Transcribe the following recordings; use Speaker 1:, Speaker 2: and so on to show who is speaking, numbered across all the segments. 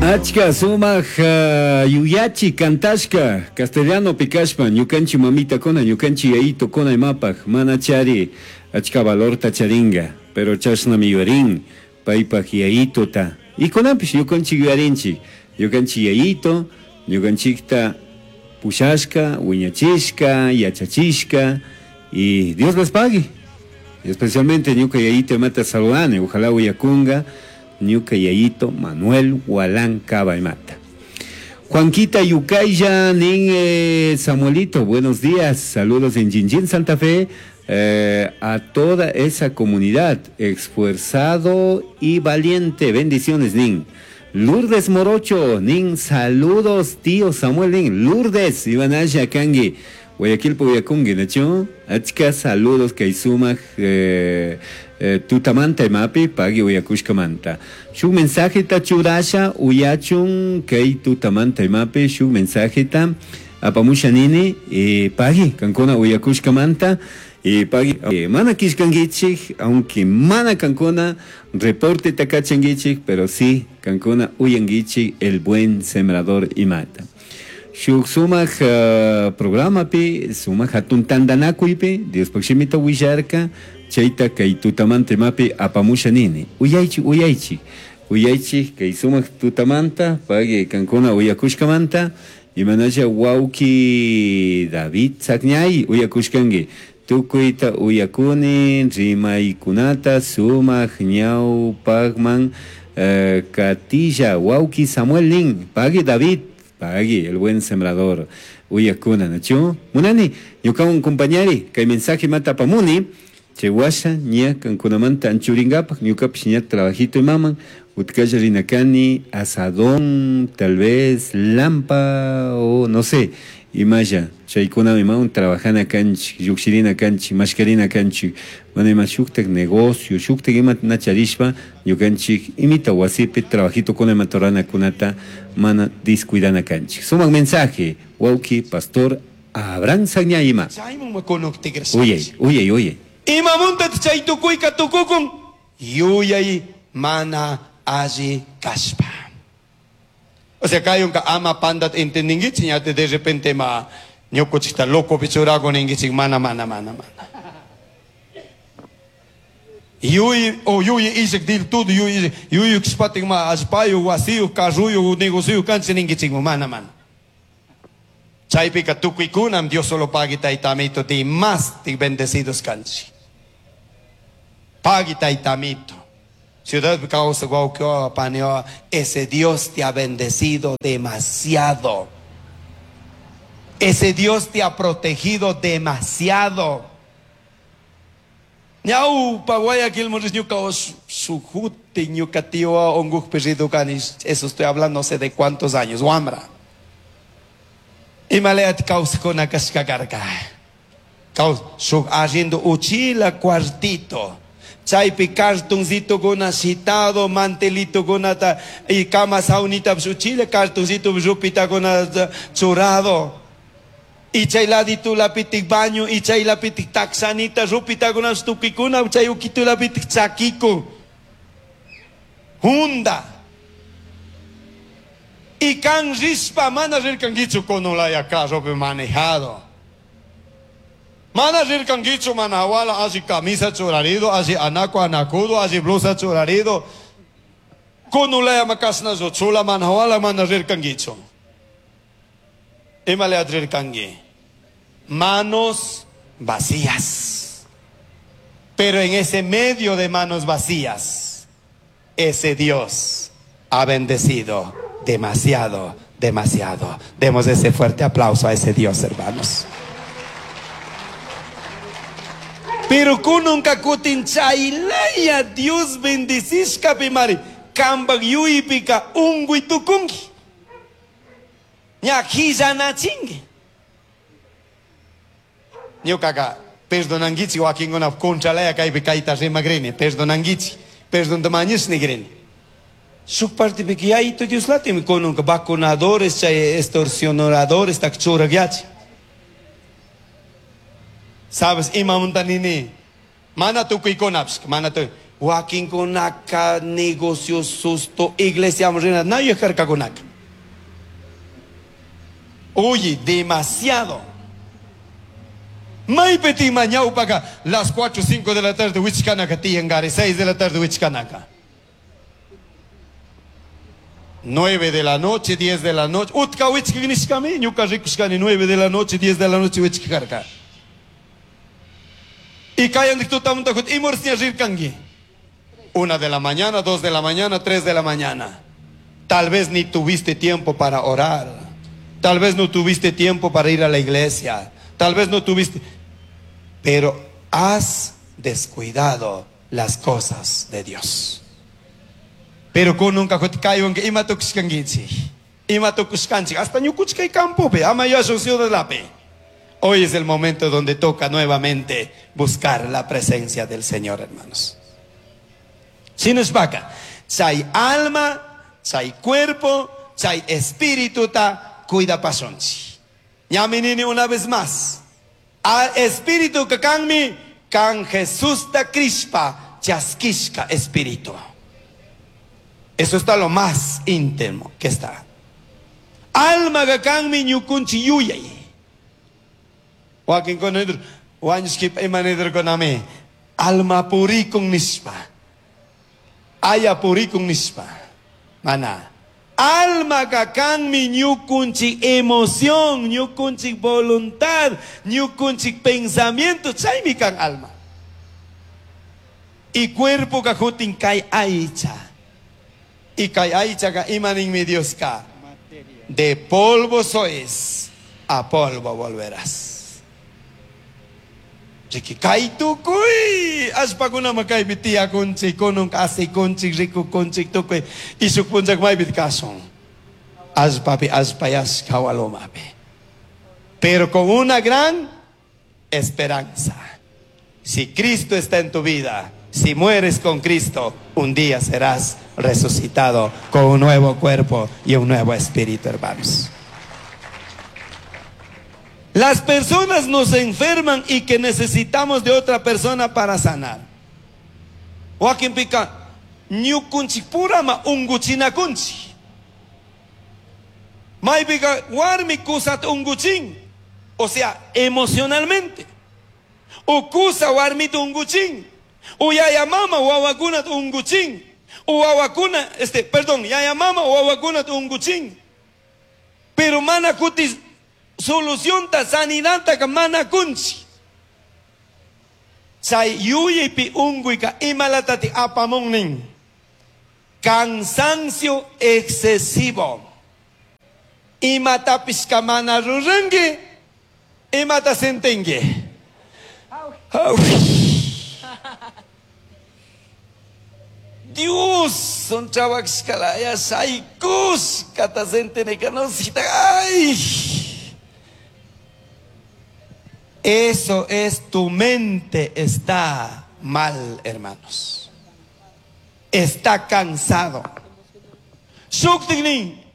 Speaker 1: Achka sumaq yuyachi cantashka castellanopi kashpa ñukanchik mamitakuna ñukanchik yayitukuna imapaq mana chari achka valorta charinga pero chashnami yuyarin paypaq yayituta y kunanpish ñukanchik yuyarinchik ñukanchik yayitu ñukanchikta pushashka wiñachishka yachachishka y Dios les pague. Especialmente ñuka yayito imata saludani ojalá uyakunga ñuka yayito Manuel Gualán Caba imata. Juanquita Yucaya nin Samuelito, buenos días, saludos en Jinjin, Santa Fe, a toda esa comunidad, esforzado y valiente, bendiciones nin. Lourdes Morocho, nin, saludos tío Samuel nin, Lourdes, Ivanaya Kangi, Guayaquil Puyacungi, nachu, achka saludos kay sumaq tutamanta imapi pagui uyakushkamanta. Shuk mensajeta churasha uyachun kay tutamanta imapi shuk mensajeta apamusha nini pagui kankuna uyakushkamanta pagui mana kishkankichik aunque mana kankuna reporte takachankichik pero sí kankuna uyankichik el buen sembrador imata. Shuk sumaq programapi sumaq hatun tantanakuypi Diospaq shimita willarka chayta kay tutamanta imapi apamusha nini uyaychik uyaychik uyaychik kay sumaq tutamanta pagui kankuna uyakushkamanta imanalla wawki David Tzakñay uyakushkanki tukuyta uyakuni rimaykunata sumaq ñawpaqman katilla wawki Samuel nin pagui David pagui el buen sembrador uyakuna nachu munani ñukawan compañari kay mensaje mata apamuni chay washa ña kankunamanta anchurinkapak ñukapish ña trabajito imaman utkalla rinakani asadón tal vez lampa o no sé imalla chaykuna imawan trabajana kanchik llukshirina kanchik mashkarina kanchik mana ima shuktak negocio shuktak ima na charishpa ñukanchik imita wasipi trabajitokuna ima ruranakunata mana descuidana kanchik. Sumaq mensaje wawki pastor Abraham Sagñayima.
Speaker 2: Chayman makunuk tigrashanchik.
Speaker 1: Uyay, uyay, uyay.
Speaker 2: Imamunta chay tukuyka tukukun yuyay mana alli kashpa. O sea, kayunka ama pandat entendingichik, ñate de repente ma ñukuchikta loco pichurago ningichik, mana, mana, mana, mana. Yuy, o yuy isik dil todo, yuy, yuy kspatik ma allpayu, wasiyu, carruyu, negociyu kanchi ningichik, mana, mana. Chaypika tukuykunam Dios solo pagui taytamito ti más ti bendecidos kanchi. Pagui taytamito. Ciudad causa guauquio, paneo, ese Dios te ha bendecido demasiado. Ese Dios te ha protegido demasiado. Ñau, pa Guayaquil, morris, ñuca, o su jute, ñuca tío, onguj, perrido, canis. Eso estoy hablando no sé de cuántos años. Wambra. Y maleat causa con acasca carga. Caus, su haciendo uchila cuartito. Chaypi cartoncito con agitado, mantelito con ata, y cama saunita, uchila cartoncito, rupita con ata, churado. Y chay ladito la pitic baño, y chay la pitic taxanita, rupita con astukikuna, chay uquito la pitic chaquico. Junda. Y can rispa, mana rirkanguichu con olaya carro manejado. Mana rirkanguichu manawala, así camisa churarido, así anaco anacudo, así blusa churarido. Con olaya macasna chula manawala, mana rirkanguichu. Imale adrirkangui. Manos vacías. Pero en ese medio de manos vacías, ese Dios ha bendecido demasiado, demasiado. Demos ese fuerte aplauso a ese Dios, hermanos. Pero kununka kutin chaylaya Dios bendicishka pimari. Kambak yuypika ungui tukunki. Ña hillanachinki. Ñukaka perdonankichik wakinkuna contralaya kaypi kayta rimagrini, perdonankichik, perdonta mañashni Shuk partipika yayito Dioslatimi kununka vacunadores, chay extorsionadores tak churagyachi. Sabes, imamunta nini? Mana tukuykunapish, mana tu. Wakinkunaka negocio susto iglesiaman rina na yuyarkakunaka. Oye, demasiado. Maypi ñawpaka las 4 o 5 de la tarde wichkanaka tiyangari, 6 de la tarde wichkanaka. 9 de la noche, 10 de la noche. Utka wichkanishkami, ñuka rikushkani 9 de la noche, 10 de la noche wichkarka. Y kayandik tutamunta imorsiña rirkanki. 1 de la mañana, 2 de la mañana, 3 de la mañana. Tal vez ni tuviste tiempo para orar. Tal vez no tuviste tiempo para ir a la iglesia. Tal vez no tuviste... Pero has descuidado las cosas de Dios. Pero kununka kaywan ima tukushkankichik. Ima tukushkanchik. Hasta ñukuchkay campopi, ama yashun ciudadlapi. Hoy es el momento donde toca nuevamente buscar la presencia del Señor, hermanos. Shinashpaka, chay alma, chay cuerpo, chay espíritu ta cuida pasonchi. Ñami nini una vez más. Al espíritu que kanmi, kan Jesús ta crispa, chaskishka espíritu. Eso está lo más íntimo que está. Alma que kanmi ñukunchi yuyay. Wakin konidr, wañushkip imanidr konami. Alma purikun nishpa. Aya purikun nishpa. Mana. Alma kanmi ñukunchik emoción, ñukunchik voluntad, ñukunchik pensamiento, chaymi kan alma. Y cuerpo ka jutin kay aycha. Y kay aycha ka imaninmi Dios ka. De polvo sois, a polvo volverás. Riki kay tukuy allpakunama kaypi tiyakunchik, kunun asikunchik, rikukunchik tukuy y shuk punchak maypi kashun. Allpapi allpayashka walomapi. Pero con una gran esperanza. Si Cristo está en tu vida, si mueres con Cristo, un día serás resucitado con un nuevo cuerpo y un nuevo espíritu, hermanos. Las personas nos enferman y que necesitamos de otra persona para sanar. Wakinpika, ñukunchik purama unguchinakunchik. Maypika warmi kusata unguchin, o sea, emocionalmente. O kusa warmita unguchin. O yaya mama wawakunata unguchin. O wawakuna, perdón, yaya mama wawakunata unguchin. Pero mana kutis solución ta sanidad ta mana kunchi. Chay yuyaypi unkuyka imalatati apamunnin. Cansancio excesivo. Imatapis mana ruranki, imata sentinki. Dios, son chavakshkalaya shaykush kata sentineka no sita. Ay. Eso es, tu mente está mal, hermanos. Está cansado. Shuktiknin.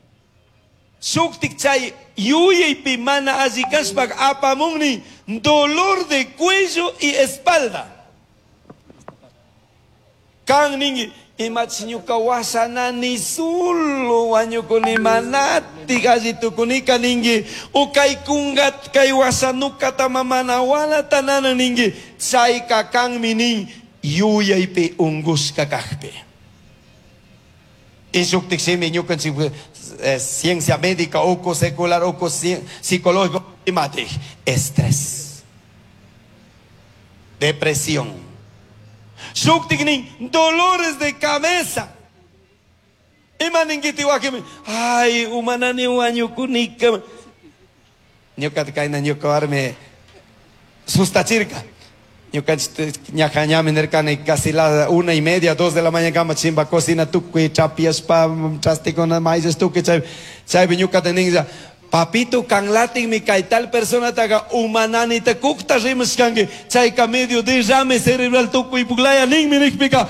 Speaker 2: Shuktik chay yuyaypi mana alli kashpak apamunni dolor de cuello y espalda. Kan ningi imach ñuka washanani solo wañukuni manati alli tukunika ningi o kay kungat kay washanukata mamana wala tanana ningi chayka kanmi nin yuyaypi ungushka kajpi. Y shuktik shimi ñukanchik ciencia médica, oco secular, oco psicológico, imatik, estrés, depresión. Shuktiknin, dolores de cabeza. Imaningiti wakimi, ay, umanani wañukunika. Ñuka kayna ñuka warmi sustachirka. Ñuka ñajañami nerkani casi la 1:30, 2 de la mañana kama chimba cocina tukuy chapiaspa chastikuna maíz tukuy chay chaypi ñuka teninja. Papito kanlatin mi kay tal persona taga umanani ta kukta rimashkanki chayka medio derrame cerebral tukuy puklaya ninmi nikpika.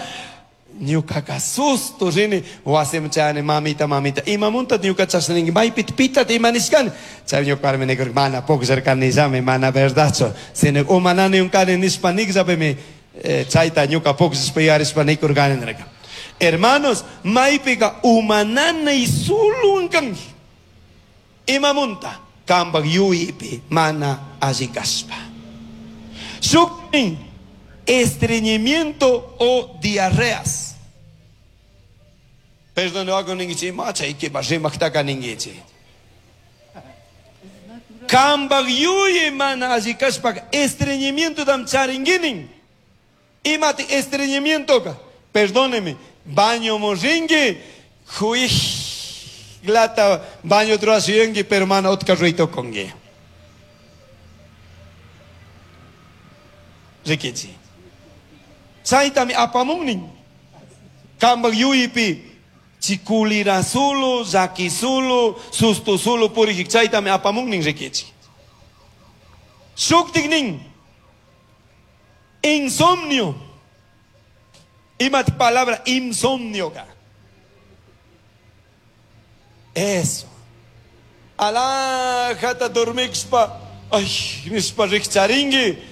Speaker 2: Ñukaka susto rini wasim chani mamita mamita imamunta ñuka chashna maypi pitat imanishkani chay ñuka warmi nikurka mana pukllarkani llami mana verdadchu sino umanani unkani nishpa nikllapimi Chayta ñuka pukllashpa yuyarishpa nikurkani nirka. Hermanos, maypiqa uma nanay suluwan kanki. Imamunta kambak yuyaypi mana alli kashpa. Shuknin estreñimiento o diarreas. Perdón, ninkichik, ima chaykipa rimaktaka ninkichik. Kambak yuyay mana alli kashpa estreñimiento tam charinguinin. Imati estreñimiento? Perdóneme, baño morringue, glata baño truasiengue, pero mana otka ruito congue. Rikichi. Chaytami apamunnin. Kambak yuypi chikulira sulu, llaki sulu, susto sulu purijik chaytami apamunnin rikichi. Shuktiknin insomnio. Imat palabra insomnio ka. Eso. Alajata dormixpa. Ay, nispa rikcharingi.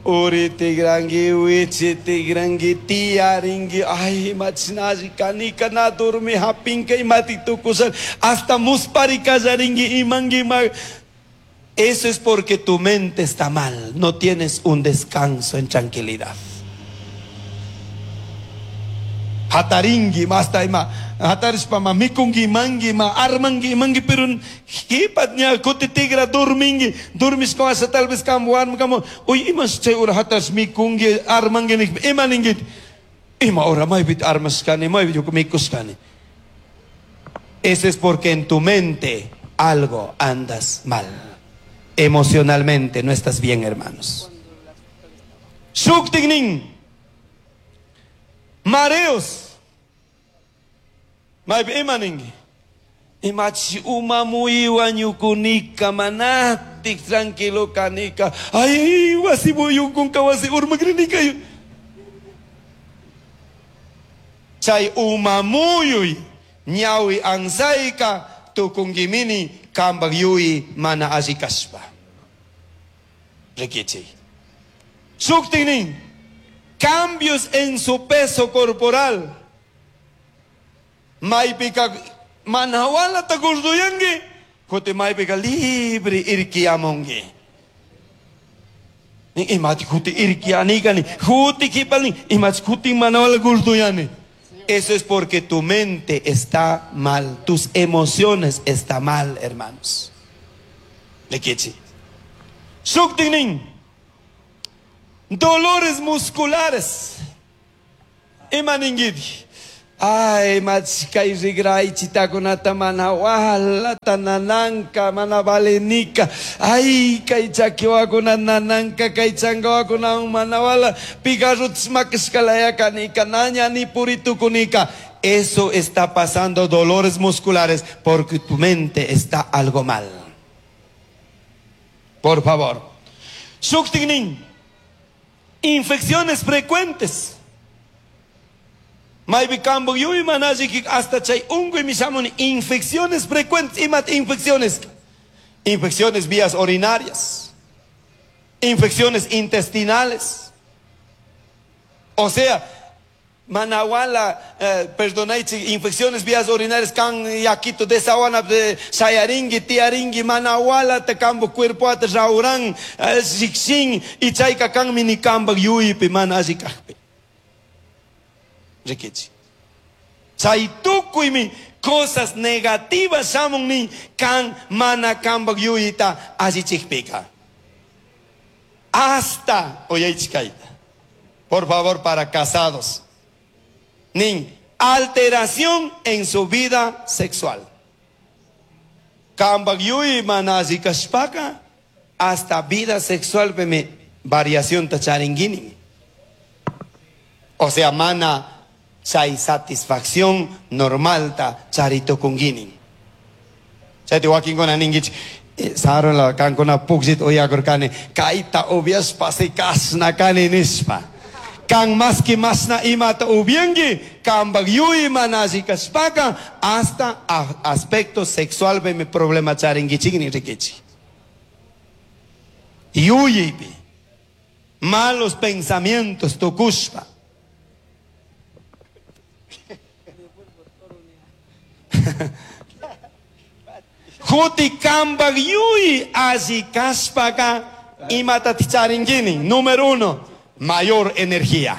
Speaker 2: Uri tigrangi, wichi tigrangi, tiaringi. Ay, machinaji kanika na dormi hapinka imati tukusan. Hasta muspari kallaringi imangi ma. Eso es porque tu mente está mal. No tienes un descanso en tranquilidad. Hataringi, masta ima, hatarishpa ma mikungi, mangi, ma armangi, mangi, pero kipat ña kuti tigra dormingi, dormishka wasa tal vez kam warmi kamo, uy, imas chay ura hatash mikungi, armangi, nik, ima ningit, ima ora maybit armashkani, maybit mikushkani. Eso es porque en tu mente algo andas mal. Emocionalmente no estás bien, hermanos. Shuktignin. Mareos. Maypi ima ninki. Imachi uma muyuwan ñukunika manatik tranquilo kanika. Ay, wasi muyunkunka wasi urmakrinika. Chay uma muyuy ñawi ansayka tukunkimini kambak yuyi mana alli kashpa. Rikichi. Shuktiknin. Cambios en su peso corporal. Maypika manawala ta gurduyangi, kuti maypika libre irkiamongi. Imati kuti irkianikani, kuti kipalni, imati kuti manawala gurduyani. Eso es porque tu mente está mal, tus emociones están mal, hermanos. Lekichi. Shuktiknin. Dolores musculares. Ima ningiti. Ay, machkay rigray chitakunata mana walata nananka, mana valenika. Ay, kay chakiwakuna nananka, kay changawakuna mana wala. Pigarrut makiskalaya kanika, naña ni puritukunika. Eso está pasando, dolores musculares, porque tu mente está algo mal. Por favor. Shuktiknin. Infecciones frecuentes. Maypi kambo yuy manajiki hasta chay unguy mishamuni infecciones frecuentes, imat infecciones. Infecciones vías urinarias. Infecciones intestinales. O sea, manawala, perdonaichi, infecciones vías urinarias kan yakito desawana de sayaringi, tiaringi, manawala te kambo cuerpo at rauran, xixin, y chayka kan minikamba yuypi manajikajpi. Rikichi. Chay tukuymi cosas negativas shamunni kan mana kambak yuyita allichikpika. Hasta, oyaichikaita. Por favor, para casados. Nin, alteración en su vida sexual. Kambak yuyi mana allikashpaka, hasta vida sexual peme variación tacharingini. O sea, mana chay satisfacción normal ta charito kungini. Chay te wakinkuna ninguich, saron la kankuna puksit oyakurkani, kaita obias pase kasna kani nispa. Kan maski masna imata ubiengi, kambak yui manasi kaspaka, hasta aspecto sexual be mi problema charingi chigni rikichi. Yuyipi. Malos pensamientos tukushpa. Huti kambak yuy alli kashpaka imatatik charinkini. Número 1, mayor energía.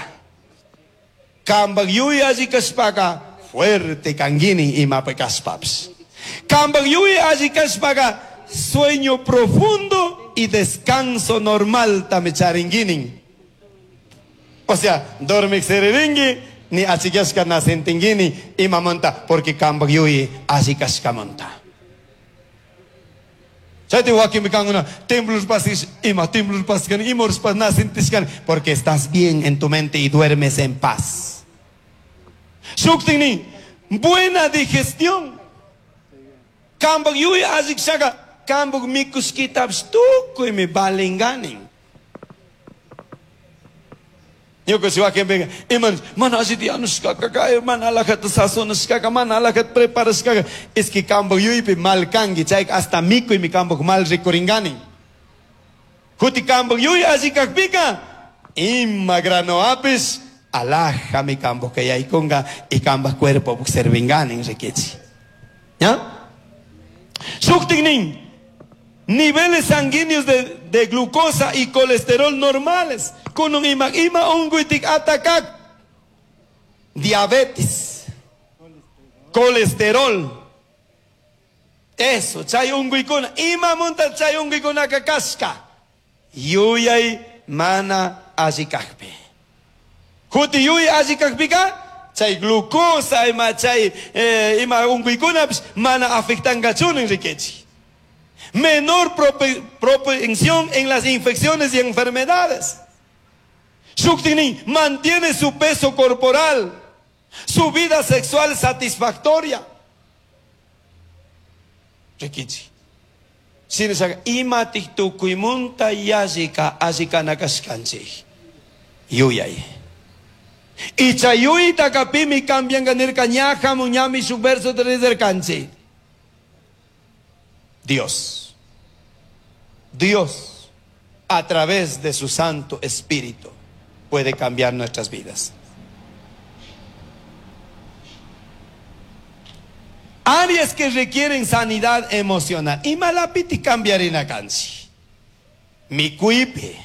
Speaker 2: Kambak yuy alli kashpaka fuerte kankini imapi kashpapish. Kambak yuy alli kashpaka sueño profundo y descanso normal tami charinkini. O sea, dormik siririnki ni achikyashka na sentinkini imamanta porque kambak yuy alli kashkamanta. Chayti wakinpi kankuna temblor pasis ima temblor paskani ima horas na sentishkani porque estás bien en tu mente y duermes en paz. Shuktinni buena digestión. Kambak yuy alli kashaka kambak mikushkitapish tukuymi valinganin. Ñuka si wakinpiqa ima mana allita yanushkaka kay mana alajata sazonashkaka mana alajata preparashkaka es que kambak yuypi mal kanki chayka hasta mikuymi kambak mal rikuringanin. Huti kambak yuy alli kakpika ima granoapish alajami kambak yaykunka y kambak cuerpo servinganin rikichi. ¿Ya? Shuktiknin niveles sanguíneos de glucosa y colesterol normales. Con un ima, ima unguitik atakak. Diabetes. Colesterol. Eso, chay unguikuna. Ima munta chay unguikuna kakashka. Yuyay mana allikakpi. Huti yuy allikakpika, chay glucosa ima chay ima unguikuna mana afectangachunin rikichi. Menor propensión en las infecciones y enfermedades. Shuktini mantiene su peso corporal, su vida sexual satisfactoria. Rikichi. Sinasaga imatik tukuymunta yallika allikana kashkanchik. Yuyay. Icha yuyta kapimi cambian nirka ñaja muñami su verso de Dios. Dios, a través de su Santo Espíritu, puede cambiar nuestras vidas. Áreas que requieren sanidad emocional. Imalapiti cambiarina kanchi. Mikuipe,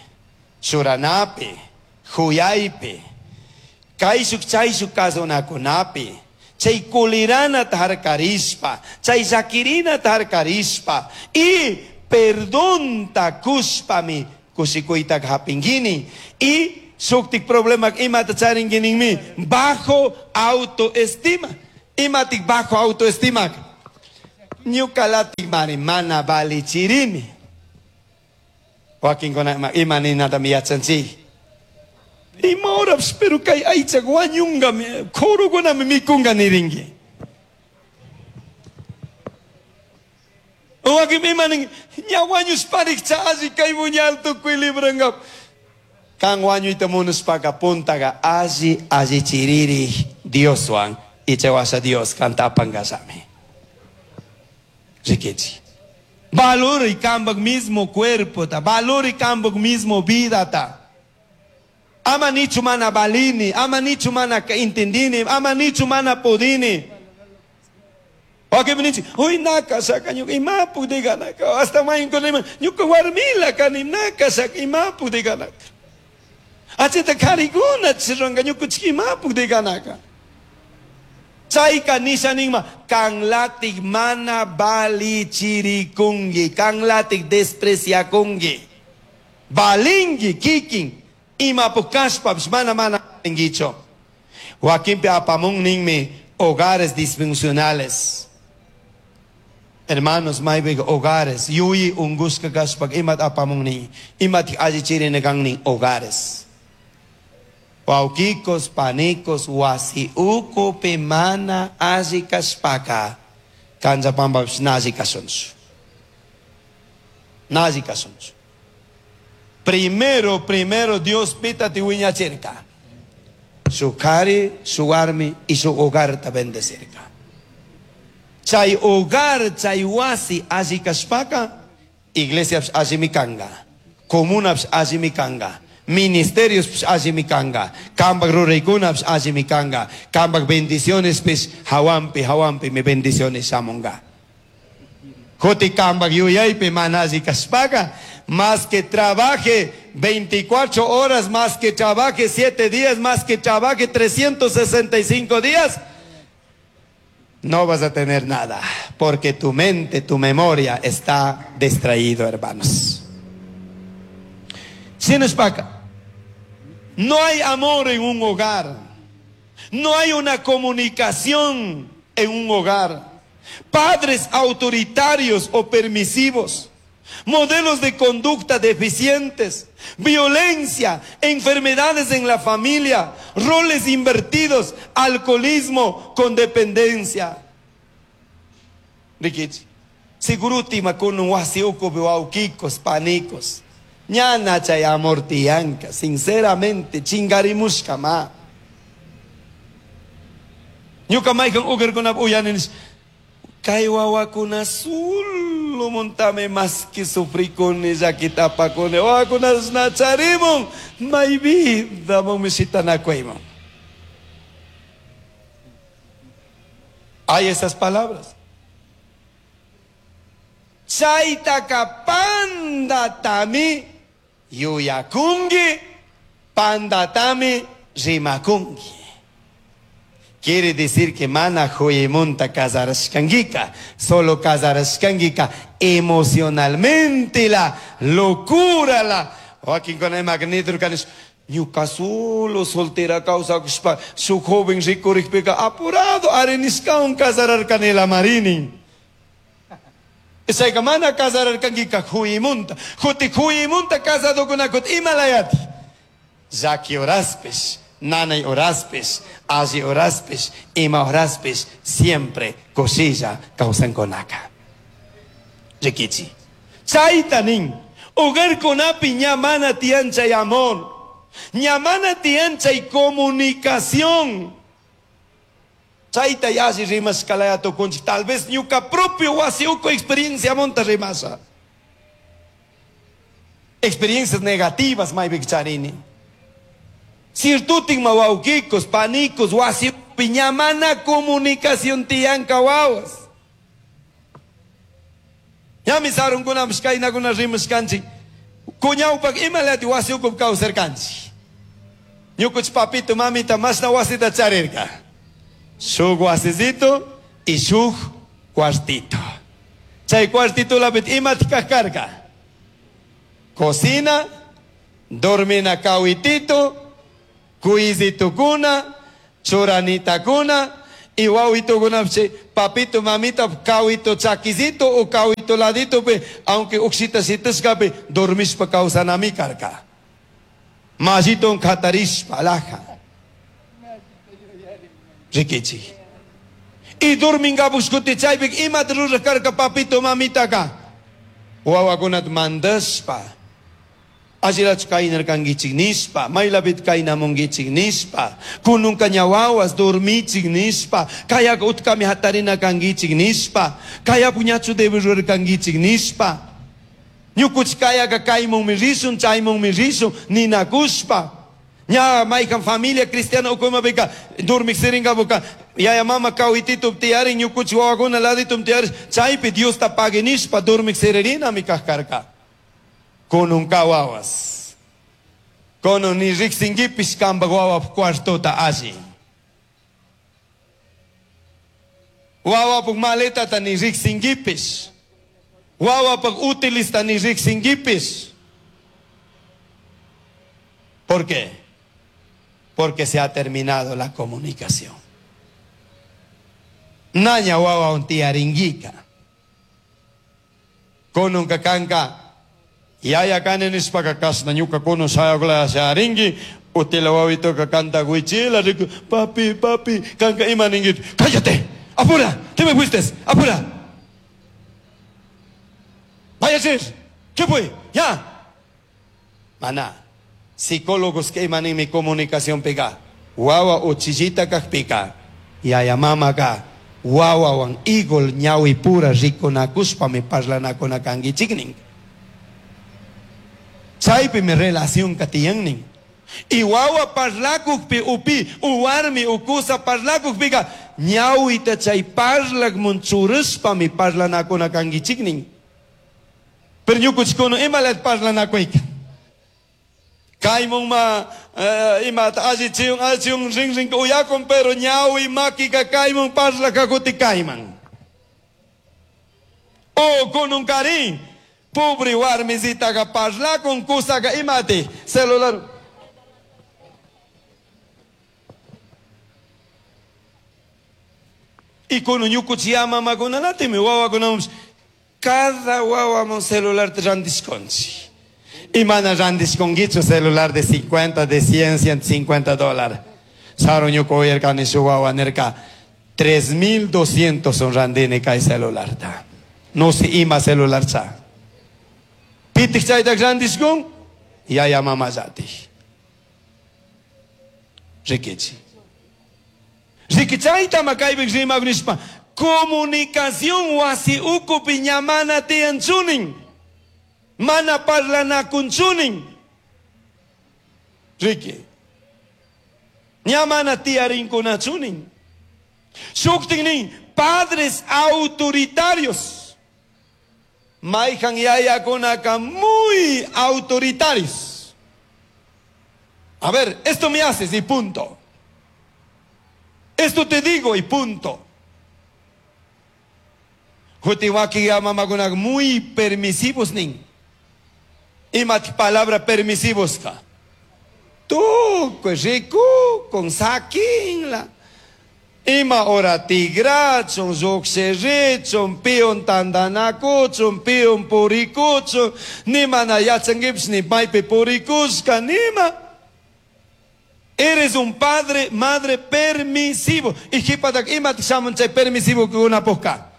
Speaker 2: churanape, huyaipe, kaishuk chaishuk kazonakunape, chay kulirana tarkarispa, chay zakirina tarkarispa, y perdón takuspami kushikuyta hapingini, y suktik problema imata charinguiningmi, bajo autoestima. Imatik bajo autoestima. Ñukalatik mari mana balichirini. Wakinkuna imaninata mi yachanchik. Ima horas pero kay aychak wañungami, kurukunami mikunga nirinki. Wakin imanin ña wañushparikcha alli kay muñal tukuy librangap. Kan wañuyta munushpaka puntaga alli allichiriri Dioswan y chawasha Dios kantapangasami. Rikichi. Valor y kambak mismo cuerpo ta, valor y kambak mismo vida ta. Ama nichu mana balini, ama nichu mana intendini, ama nichu mana podini. Wakin nichi, hoy naka saka ñuka imapu diganaka, hasta mayin con ñuka warmila kani naka saka imapu diganaka. Achita kariguna chiranga ñuka imapu diganaka. Chayka nisha ninma kanlatik mana bali chirikungi, kanlatik despreciakungi. Balingi kikin imapu kashpa mana mana lingicho. Wakinpi apamun ninmi hogares disfuncionales. Hermanos, maybe hogares, yuyi unguska kashpa imat apamun ni, imat allichirinegan hogares. Wauquicos, panicos, wasi uku mana alli kashpaka, kanchapampa nazi kasunchu. Nazi kasunchu. Primero Dios pita tiwiñachirka. Su cari, su armi y su hogar ta bendecirka. Chay hogar, chay wasi alli kashpaka, iglesia alli mikanga, comuna alli mikanga. Ministerios allimi kanga, kambak ruraykunapish allimi kanga, kambak bendicionespish hawanpi hawanpi mi bendiciones shamunga. Kuti kambak yuyaypi mana alli kashpaka, más que trabaje 24 horas, más que trabaje 7 días, más que trabaje 365 días, no vas a tener nada, porque tu mente, tu memoria está distraído, hermanos. Shinashpaka, no hay amor en un hogar, no hay una comunicación en un hogar. Padres autoritarios o permisivos, modelos de conducta deficientes, violencia, enfermedades en la familia, roles invertidos, alcoholismo con dependencia. Rikichi, segurutima con un wasi ukupi wawkikos, panicos. Ñana chay amor tiyanka, sinceramente, chingarimushka ma. Ñuka maykan ugarkunap uyanish, kay wawakuna solo montame más que sufrikuni llakita apakuni, wawakuna nacharimun, may vida mon mishitanakuymun. Hay esas palabras. Chaytaka pandatami yuyakungi, pandatami rimakungi. Quiere decir que mana joyemonta casarashkangika, solo casarashkangika emocionalmente la locura la. Joaquín con el magneto canes, ñuka solo soltera causa kushpa, su joven rikurikpika apurado arenishkaun casararkanela marini. Chayka mana casararkankika joyemonta, juti joyemonta casadokunakut imalayati. Llaki horaspish, nanay horaspish, alli horaspish, ima horaspish, siempre kushilla kawsankunaka. Rikichi. Chayta nin, hogarkunapi ña mana tiyan chay amor, ña mana tiyan chay comunicación. Chayta yalli rimashkalaya tukunchik, tal vez ñuka propio wasi uku experiencia monta rimasha. Experiencias negativas maypika charini. Sirtutin mawawkikos, panicos, wasi ña mana comunicación tiyanka wawas. Ñami sarunkunapish kaynakuna rimashkanchik. Kuñawpak imalati wasi ukupi kawsarkanchik. Ñukuch papito, mamita, mashna wasita charirka. Shuk wasicito y shuk cuartito. Chay cuartito lapit imatik karka. Cocina, dormina kawitito, kuizitukuna, churanitakuna, y wawitokuna, che, papito, mamita, kawito chakizito o kawito ladito, pe, aunque uxita sitascape, dormishpa kawsanami karka. Majito katarishpa laja. Rikichi. Y dorminga buscuti chaypik imat ruraj karka papito mamita ka. Wawakunat mandashpa. Allirach kaynarkankichik nishpa, maylapit kaynamunkichik nishpa, kununka ña wawas dormichik nishpa, kayaka utkami hatarina kankichik nishpa, kaya puñachu debe rurarkankichik nishpa. Ñukuch kayaka kaymunmi rishun, chaymunmi rishun, ninakushpa. Ña maykan familia cristiana ukumapika dormik sirinkapuka, yaya mama kawititu tiyarin, ñukuch wawakuna laditum tiyarin, chaypi Diosta pague nishpa dormik siririnami kajkarka. Kununka wawas. Kunun ni riksinkipish kampak wawap cuartota alli. Wawapuk maletata ni riksinkipish. Wawapuk utilista ni riksinkipish. ¿Por qué? Porque se ha terminado la comunicación. Naña wawa un tiaringuica. Kununka kanka. Yaya kane nishpaka kasna ñuka kunun shayakula sharingi, utila wawitoka kanta guichila, riku, papi, papi, kanka ima ningui, cállate, apura, te me fuiste, apura. Vaya a ser, ¿qué fue? Ya. Maná, psicólogos que ima mi comunicación pega, wawa uchillita kajpika, yaya mama ka, wawa wan igol ñawi pura rikunakushpa mi parlanakunakankichiknin. Chaypimi relacionka tiyannin. Y wawa parlakukpi upi u warmi u kusa parlakukpika ñawita chay parlakmun churashpami parlanakuna kankichiknin. Pero ñukuchikuna imalat parlanakuyka. Kaymun ma imata allichiyun allichiyun rinrinka uyakun pero ñawi makika kaymun parlakakuti kayman. O kununkarin pobre warmisitaqa parlakun kusaka imati celular. Y kunun ñukuchi mamakunanatimi wawakunamun cada wawamun celular randishkunchik. Y mana randishkunkichu celular de 50, de 100, 150 dólares. Saru ñuka uyarkani shuk wawa nirka 3200 son randini kay celularta. No sé ima celular cha. Pitik chayta randishkun yaya mama llatik. Rikichi. Riki chayta makaypik rimak nishpa comunicación wasi ukupi ña mana tiyanchunin. Mana parlanakunchunin. Riki. Ña mana tiyarinkunachunin. Shuktin padres autoritarios. Mayhan yayakunaka muy autoritarios. A ver, esto me haces y punto. Esto te digo y punto. Hutiwaki mamakunak muy permisivos nin. Ima palabra permisivos ka. Tukuy riku con sakinla. Ima ora tigrachun, lluqshirichun, piun tandanakuchun, piun purikuchun, ni mana yachankipis ni maypi purikushka, nima. Eres un padre, madre permisivo. Y jipatak ima shamun chay permisivo kunapuka.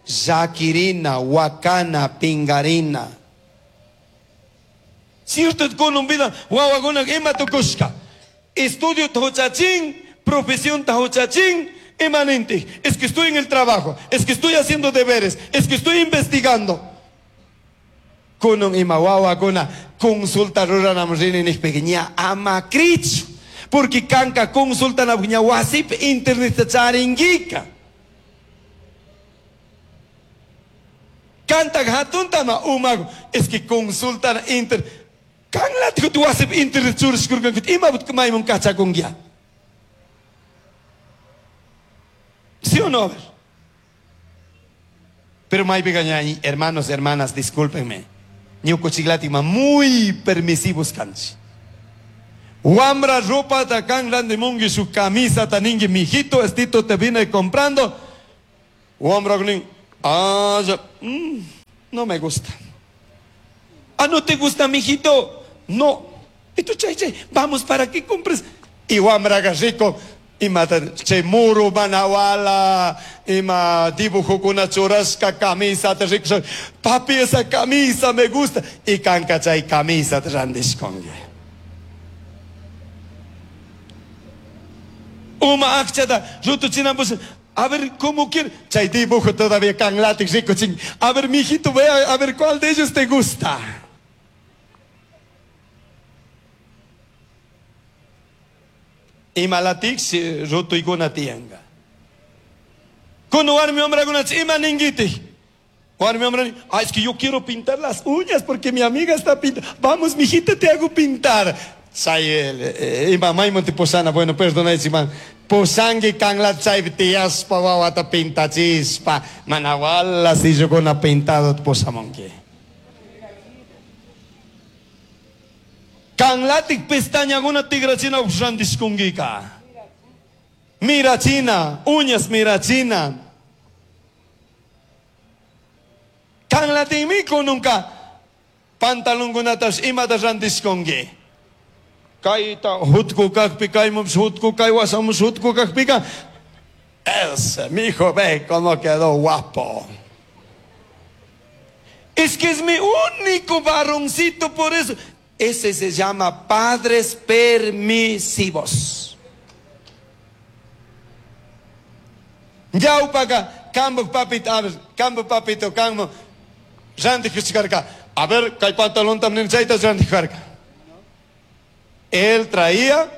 Speaker 2: Llakirina, wakana, pingarina. Cierto kunun vida, wawakuna ima tukushka. Estudio huchachin, profesión huchachin, imanente. Es que estoy en el trabajo, es que estoy haciendo deberes, es que estoy investigando. Kunun ima wawakuna consulta ruranam rini nikpika ña ama krichu. Porque kanka consulta na ña wasipi internet charingika. Kanta hatuntama umago es que consulta inter kanlat tu wasipi internet churishkurkan ima maymun kachakungia. ¿Sí o no? A ver. Pero maypiqa hermanos, hermanas, discúlpenme. Ñukuchiklatima muy permisivos kanchik. Wambra ropa ta kan randimungi su camisa ta ningi mijito, estito te vine comprando. Wambra nin, ah, ya, no me gusta. Ah, ¿no te gusta, mijito? No. Y tú, che, che, vamos para que compres. Y wambra rico. Ima che muru manawala, ima dibujo con una churrasca camisa, te rico. Papi, esa camisa me gusta. Y kanka chay camisa te randishkongi. Uma akchata, rutuchina pues, a ver cómo quiere. Chay dibujo todavía kan rico ching. A ver, mijito, ve a ver cuál de ellos te gusta. Ima latik rutuykuna tiyanka. Kuno warmi wamrakuna ima ninguiti. Warmi wamra, ah, es que yo quiero pintar las uñas porque mi amiga está pintando. Vamos, mijita, te hago pintar. Chay, ima maymun posana, bueno, perdona, man. Posangi kanlat chay tiyaspa wawata pintachispa. Manawala si yo con pintado posamonki. Kanlatik pestañakuna tigrachina randishkunkika. Mirachina, uñas mirachina. Kanlatikmi kununka pantalonkunatash imata randishkunki. Kayta hutku kakpi, kaymups hutku, kay wasamus hutku kakpika. Ese, mijo, ve cómo quedó guapo. Es que es mi único varoncito por eso. Ese se llama padres permisivos. Yaupaka, kambo papito, a ver, kambo papito, kambo. Ranti kuchikarka. A ver, kay pantalón también chayta rantikarka. Él traía,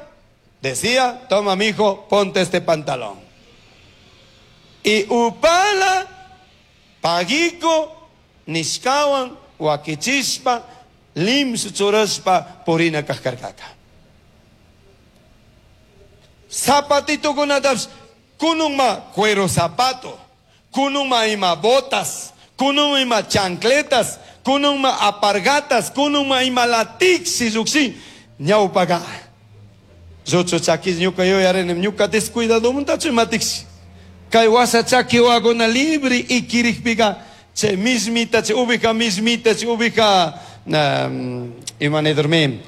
Speaker 2: decía, toma mi hijo, ponte este pantalón. Y upala, pagico, nishkawan, wakichishpa, limsu churashpa, purina kajkarkaka. Zapatito kunatapish, kununma cuero zapato, kununma ima botas, kununma ima chancletas, kununma apargatas, kununma ima latixi llukshin, ñawpaka. Lluchu chakis ñuka yuyarinim, ñuka descuidado muntachu imatixi. Kay wasa chaki waguna libre ikirikpika, chay mismita, chay ubija mismita, chay ubija, ima nidurmi,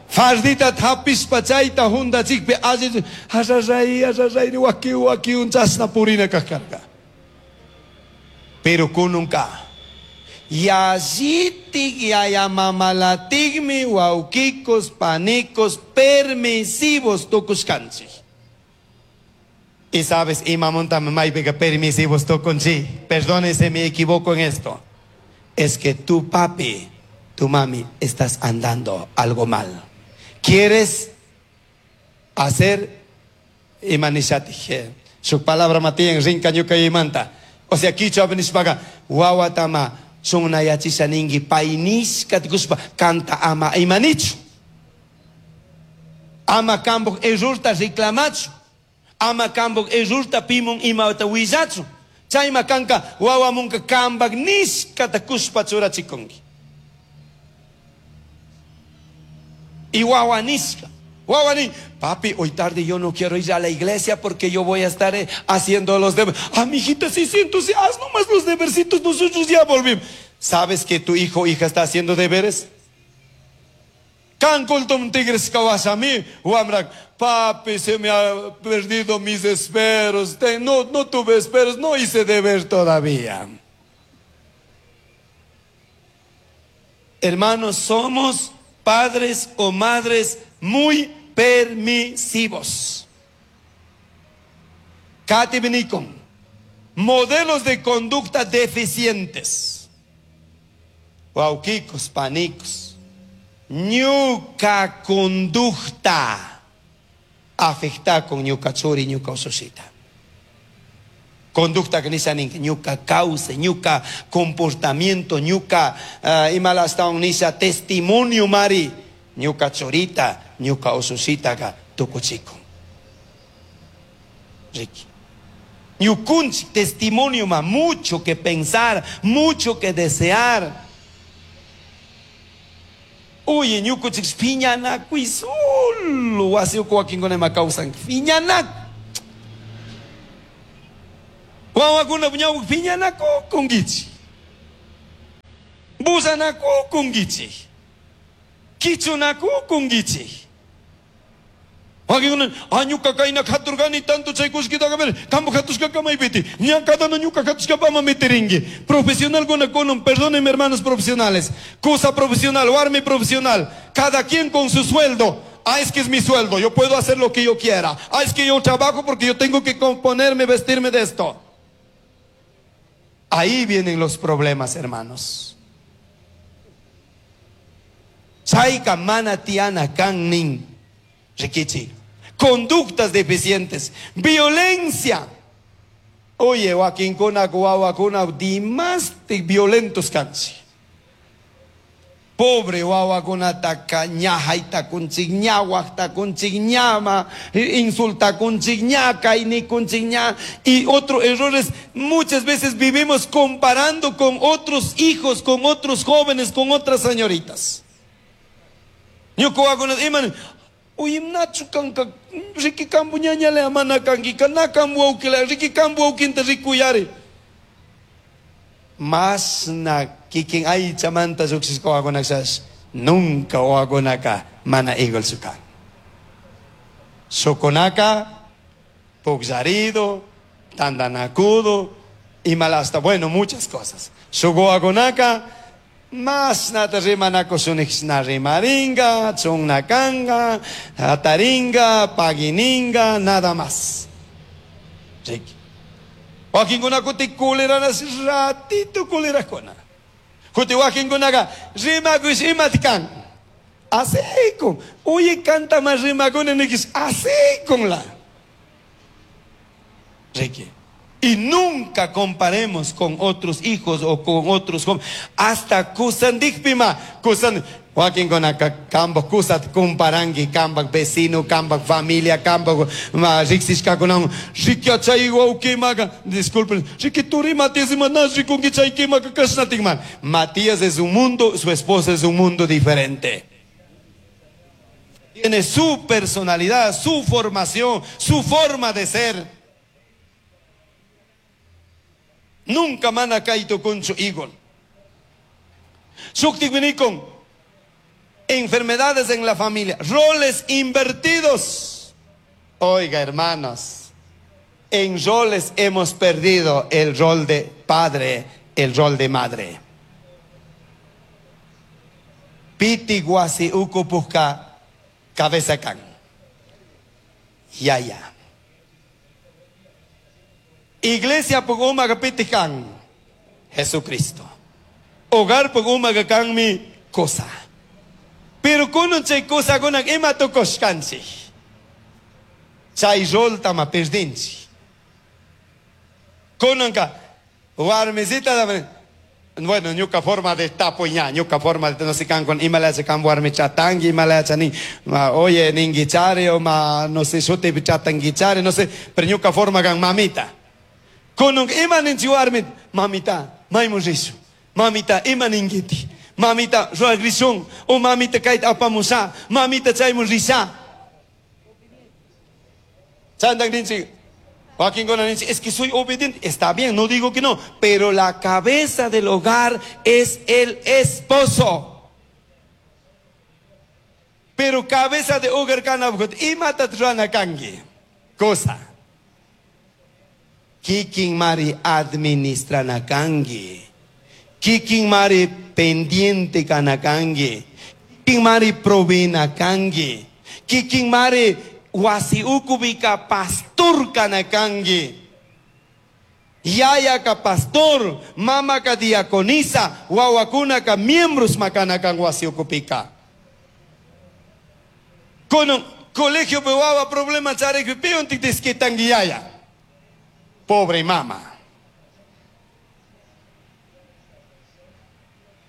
Speaker 2: fardita hapishpa chayta jundachikpi alli, arraray, arraray, waki, waki, un chasna purina kajkarka. Pero kununka, yallitik yayamamalatikmi wawkikos, panikos, permisivos tukushkanchik. Y sabes, imamonta maypica permisivos tukunchik. Perdónese, me equivoco en esto. Es que tu papi, tu mami, estás andando algo mal. ¿Quieres hacer? Imanishati, su palabra matían rinka ñuka imanta. O sea, kichwa nishpaga, wawatama sunayachisha ningi painishka tukushpa kanta ama imanichu. Ama kambuj errorta reclamachu. Ama kambuj errorta pimun imata willachu. Chayma kanka wawamunka kambak nishkata kushpa churachikunki. Y wawa nishka. Wawa ni, papi, hoy tarde yo no quiero ir a la iglesia porque yo voy a estar haciendo los deberes. Ah, mijita, sí, sí, entonces haz nomás los debercitos, nosotros ya volvimos. ¿Sabes que tu hijo o hija está haciendo deberes? Cancultum tigres kawasami, wamrak, papi, se me ha perdido mis esperos, no, no tuve esperos, no hice deber todavía. Hermanos, somos padres o madres muy permisivos. Kati Benicon, modelos de conducta deficientes. Wauquicos, panicos. Ñuka conducta afecta con ñuka churi, ñuka usushita. Conducta que nisa ninka, ñuka causa, ñuka comportamiento, ñuka imalasta nisa testimonio mari, ñuka chorita, ñuka usushita ka tukuchico. Ricky. Ñukunchi testimonio ma, mucho que pensar, mucho que desear. Oye, ñukuchik piñanakuy solo wasi uku wakinkuna ima kawsan, piñanaku. Wawakuna ñawpak piñanakukunkichik. Busanakukunkichik. Kichunakukunkichik. Wakinkuna, ah, ñuka kayna katurkani tanto chay kullkitaqa, pero kampak katushkaka maypiti. Ña cada uno ñuka katushkapa ama metirinki. Profesional kuna kunun, perdónenme hermanos profesionales. Cosa profesional, warmi profesional. Cada quien con su sueldo. Ah, es que es mi sueldo, yo puedo hacer lo que yo quiera. Ah, es que yo trabajo porque yo tengo que componerme, vestirme de esto. Ahí vienen los problemas, hermanos. Chayka mana tiana kan nin. Rikichi. Conductas deficientes, violencia. Oye, wakinkuna, wawakuna, dimaste violentos kanchi. Pobre wawakuna taka ñajaita kunchik, ñawajta kunchik, ñama, insulta kunchik, ña, kaini kunchik, ña. Y otro error es, muchas veces vivimos comparando con otros hijos, con otros jóvenes, con otras señoritas. Ñuka wawakuna, iman, uy, nachu kanka, riki kambu ñañale amana kanki, na kambu aukila, riki kambu aukinta rikuyari. Mas na kikin ay chamanta suksisco wawakunaksas, nunca wawakunaka mana igual sukan. Sukunaka, pugllarido, tandanakudo, y malasta, bueno, muchas cosas. Suguakunaka, mas nata rimanako sunik na rimaringa, chungnakanga, ataringa, pagininga, nada más. Ricky. Wakinkunakuti kuleranas ratito kulerakuna. Kuti wakinkunaqa rimakush imati kan. Asikun. Uyi kantama rimakuni nikish asikunla. Ricky. Y nunca comparemos con otros hijos o con otros jóvenes. Hasta kusandikpima, kusan wakinkunaka kambaj kusata comparanki kambaj vecino, kambaj familia, kambaj riksishkakunawan. Ricky chay wawkimaqa, disculpen, Ricky turi Matías ima na rikunki chay kimaka kashnatikman. Matías es un mundo, su esposa es un mundo diferente. Tiene su personalidad, su formación, su forma de ser. Nunca mana kaito concho igual. Shuktikwinikon, enfermedades en la familia, roles invertidos. Oiga, hermanos, en roles hemos perdido el rol de padre, el rol de madre. Piti guasi ukupujka cabeza kan. Yaya. Iglesia puguma piti kan. Jesucristo. Hogar puguma kan mi cosa. Pero kunon chay cosa kunan ima tukushkanchik. Chay rol tama perdinchik. Kunanka warmisita bueno, ñuka forma de tapo ña, ñuka forma de no sé kan con imala se kan warmi chatangi, imala chani, oye ningichare o ma no sé shute chatangichare, no sé, pero ñuka forma kan mamita. Kunun ima ninchi warmi, mamita, maimun rishu. Mamita, ima ningiti. Mamita, ruagrishun, o mamita kayta apamusha, mamita chaymun risha. Chandan ninchi, wakinkuna ninchi, es que soy obediente. Está bien, no digo que no, pero la cabeza del hogar es el esposo. Pero cabeza de hogar kanabhut, imata rana kangi. Cosa. Kikin mari administrana kangi. Kikin mari pendiente kanakangi. Kikin mari provena kangi. Kikin mari wasi ukubika pastor kanakangi. Yaya ka pastor, mama ka diaconisa, wawakuna ka miembros makanakan wasi ukupika. Kono colegio pe wawa problema charek pion tiktiskitangi yaya. Pobre mama.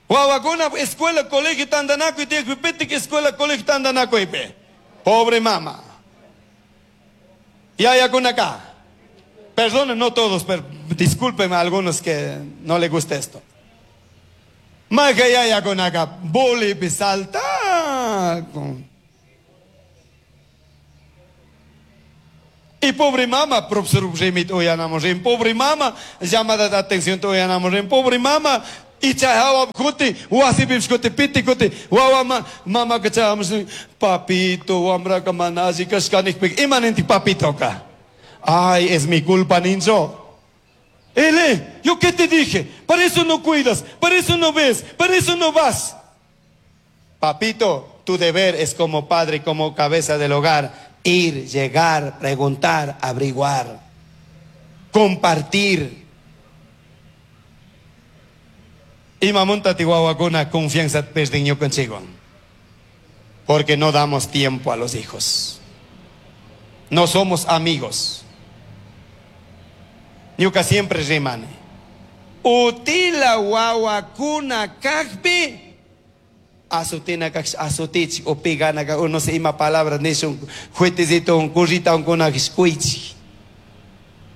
Speaker 2: Wawakuna escuela colegio tandanaco y tiek escuela colegio tandanaco ipe. Pobre mama. Yaya kunaka. Perdonen, no todos, pero discúlpenme a algunos que no les gusta esto. Maja yaya kunaka boli salta. Y pobre mama, profesor Remit oyanamos, pobre mama, llamada de atención oyanamos, pobre mama. Y chahawa kuti, wasi bibskuti, piti kuti, wawa mama que chahamos, papito, wamra kamanazi, kaskanik pik, imanenti papito ka. Ay, es mi culpa, ninjo. Ele, ¿yo qué te dije? Para eso no cuidas, para eso no ves, para eso no vas. Papito, tu deber es como padre, como cabeza del hogar, ir, llegar, preguntar, averiguar, compartir. Y mamonta tihuahuacuna confianza perdiño consigo. Porque no damos tiempo a los hijos. No somos amigos. Ñuka siempre rimane. Utila wawa kakpi. Asutina kak asutich o pigana ka uno se ima palabra nishun juetecito un currita un kuna skuichi.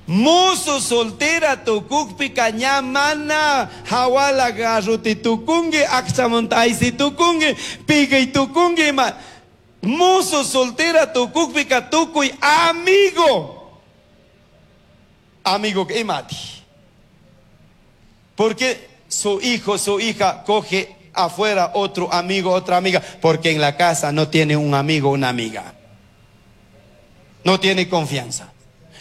Speaker 2: Musu soltera tukukpi kañamana hawala garruti tukungi akchamontaisi tukungi pigay tukungi ma musu soltera tukukpi katukuy amigo. Amigo que imati. Porque su hijo, su hija coge afuera otro amigo, otra amiga, porque en la casa no tiene un amigo, una amiga. No tiene confianza.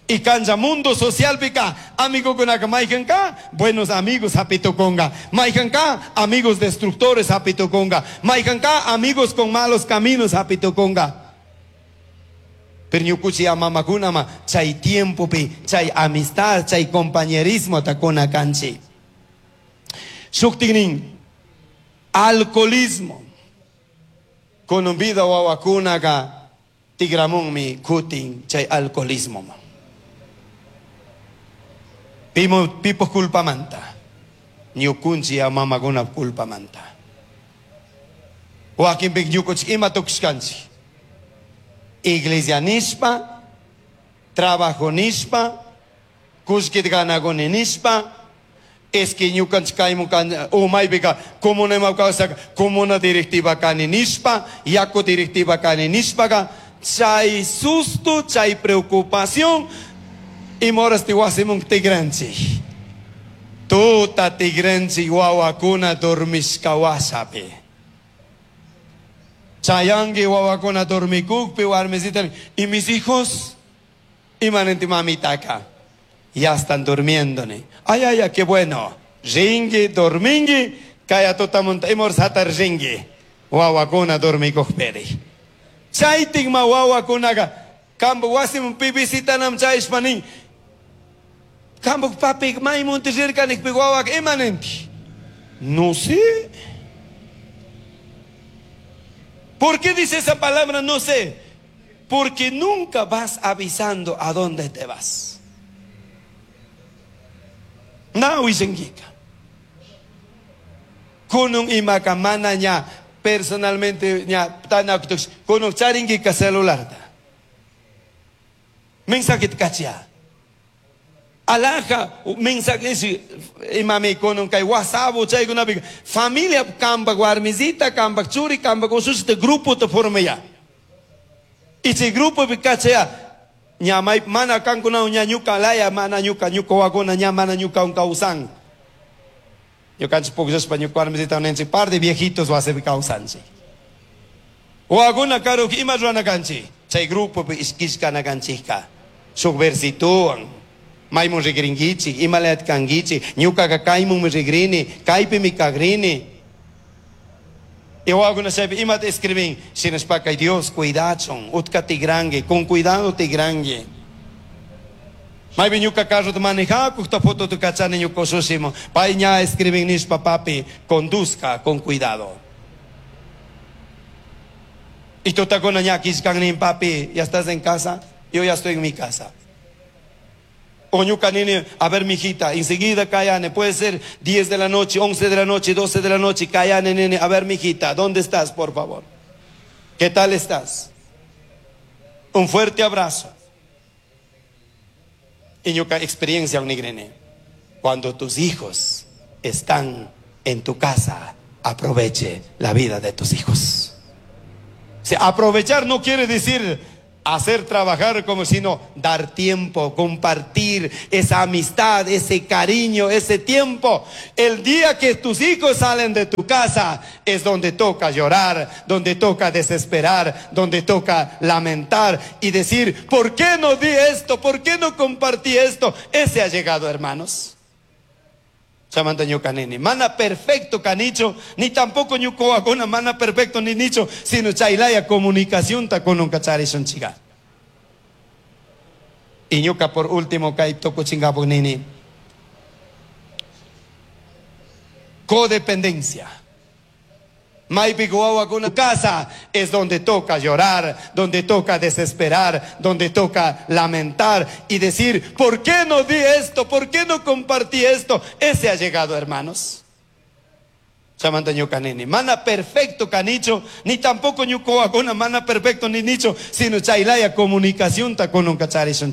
Speaker 2: Y cancha mundo social pica, amigo con maijanka, buenos amigos hapito conga, maijanka, amigos destructores hapito conga, maijanka, amigos con malos caminos hapito conga. Pero ñukuchi a mamakunama, chay tiempo pi, chay amistad, chay compañerismo takuna kanchi. Shuktignin, Alcoholismo. Kunun vida wawakunaqa tigramunmi kutin chay alcoholismo. Pimo pipo culpamanta. Ñukunchik mamakuna culpamanta. Wakinpik ñukunchik ima tukushkanchik. Iglesia nishpa, trabajo nishpa, kullkita ganakuni nishpa, es que ñukanchik kaymun kan umaypika comuna ima kawsaka comuna directiva kani nishpa, yaku directiva kani nishpaka, chay susto, chay preocupación, ima horasti wasimun tigranchik. Tuta tigranchik wawakuna dormishka washapi. Chayangi wawakuna dormikukpi warmisita y mis hijos, imanenti mamitaka, ya están durmiendo. Ni. Ay, ay, ay, qué bueno. Ringi, dormingi, kaya tutamunta imor satar ringi. Wawakuna dormikukpiri. Chaytik ma wawakunaka, kambu wasimun pi visitanam chayshpa nin. Kambu papi maymunti rirkanikpi wawaka imanenti. No sé. ¿Por qué dice esa palabra no sé? Porque nunca vas avisando a dónde te vas. Na wisengika. Kunung imaka mana ña personalmente ña tanakutux kunung charingika celular ta. Mensaje kachia. Alaja mensaje isi imami kunung kay WhatsApp chaykunapi familia kampak warmisita kampak churi kampak usushita grupo te forma ya. Y chay grupo pi kachaya ña may mana kankuna ña ñuka laya mana ñuka ñuka wakuna ña mana ñuka un kawsan. Ñukanchik pukllashpa ñuka warmisita ninchik par de viejitos wasipi kawsanchik. Wakuna karuk ima rurana kanchik. Chay grupo pi ishkishkana kanchikka. Shuk versituwan. Maymun rigrinkichik, imalayat kankichik, ñukaka kaymunmi rigrini, kaypimi kagrini. Y wakuna chaypi imata escribin, shinashpaka Dios cuidachun, utka tigrangi, con cuidado tigrangi. Maypi ñuka carrota manejakukta fotota kachani ñuka ushushimun, pay ña escribin nishpa papi, conduzca con cuidado. Y tutakuna ña kishkan papi, ya estás en casa, yo ya estoy en mi casa. O ñuka nini, a ver mijita, enseguida kayane, puede ser 10 de la noche, 11 de la noche, 12 de la noche, kayane nene, a ver mijita, ¿dónde estás por favor? ¿Qué tal estás? Un fuerte abrazo. Y ñuka experiencia unigrene, cuando tus hijos están en tu casa, aproveche la vida de tus hijos. O sea, aprovechar no quiere decir hacer trabajar como sino dar tiempo, compartir esa amistad, ese cariño, ese tiempo. El día que tus hijos salen de tu casa es donde toca llorar, donde toca desesperar, donde toca lamentar y decir, ¿por qué no di esto? ¿Por qué no compartí esto? Ese ha llegado, hermanos. Chamanta ñuka nini. Mana perfecto canicho, ni tampoco ñuka wawakuna mana perfecto ni nicho, sino chaylaya comunicación ta con un cacharishun chiga. Y ñuka por último kay tukuchingapuk nini. Codependencia. Maypi wawakuna casa es donde toca llorar, donde toca desesperar, donde toca lamentar y decir, ¿por qué no di esto? ¿Por qué no compartí esto? Ese ha llegado, hermanos. Chamanta ñuka nini. Mana perfecto canicho, ni tampoco ñuka wawakuna mana perfecto ni nicho, sino chaylaya comunicación ta con un cacharishun.